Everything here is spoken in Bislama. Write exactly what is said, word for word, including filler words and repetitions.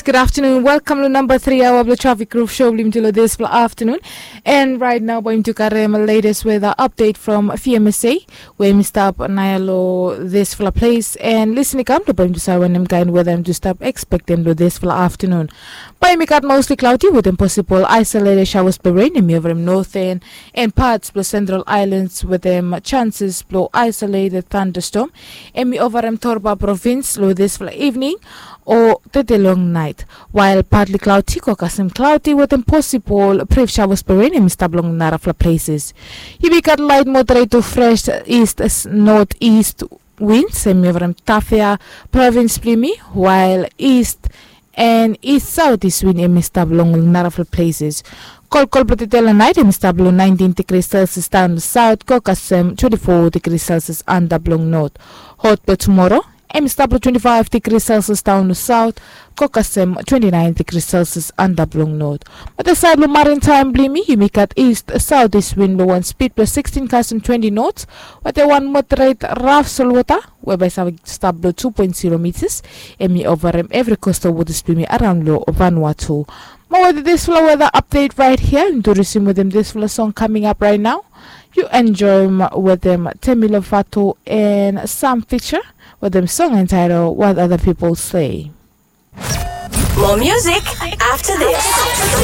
Good afternoon. Welcome to number three hour of the Traffic Roof Show. Blim to this for afternoon. And right now, going to karem latest weather update from F M S A, where we stop Nayalo this for place. And listening come to point to Sawan and kind weather to stop expecting to this for afternoon. By me got mostly cloudy with them possible isolated showers by rain and me over northern and parts of the central islands with them chances blow isolated thunderstorm. And me over them Torba province lo this for evening or tete long night. While partly cloudy, kokasem cloudy with them possible brief showers by rain and stop long narafla places. He be got light moderate to fresh east northeast winds and me over them Tafea province blimi, while east and east southeast wind em stop long narafla places. Kolkol blo tete long night em stop long nineteen degrees Celsius down south, kokasem twenty-four degrees Celsius under blong north. Hot blo tomorrow em stop long twenty-five degrees Celsius down south, kokasem twenty-nine degrees Celsius under blong north. But the side lo maritime blimi, you make at east southeast wind lo one speed plus sixteen custom twenty knots, but the one moderate rough sol water whereby save stop below two point zero meters. Em i over em every coastal waters blimi around lo Vanuatu. Mo with this flow weather update right here, and to resume with them this flow song coming up right now. You enjoy 'em with them Temi Lovato and Sam Fisher with them song entitled What Other People Say. More music after this.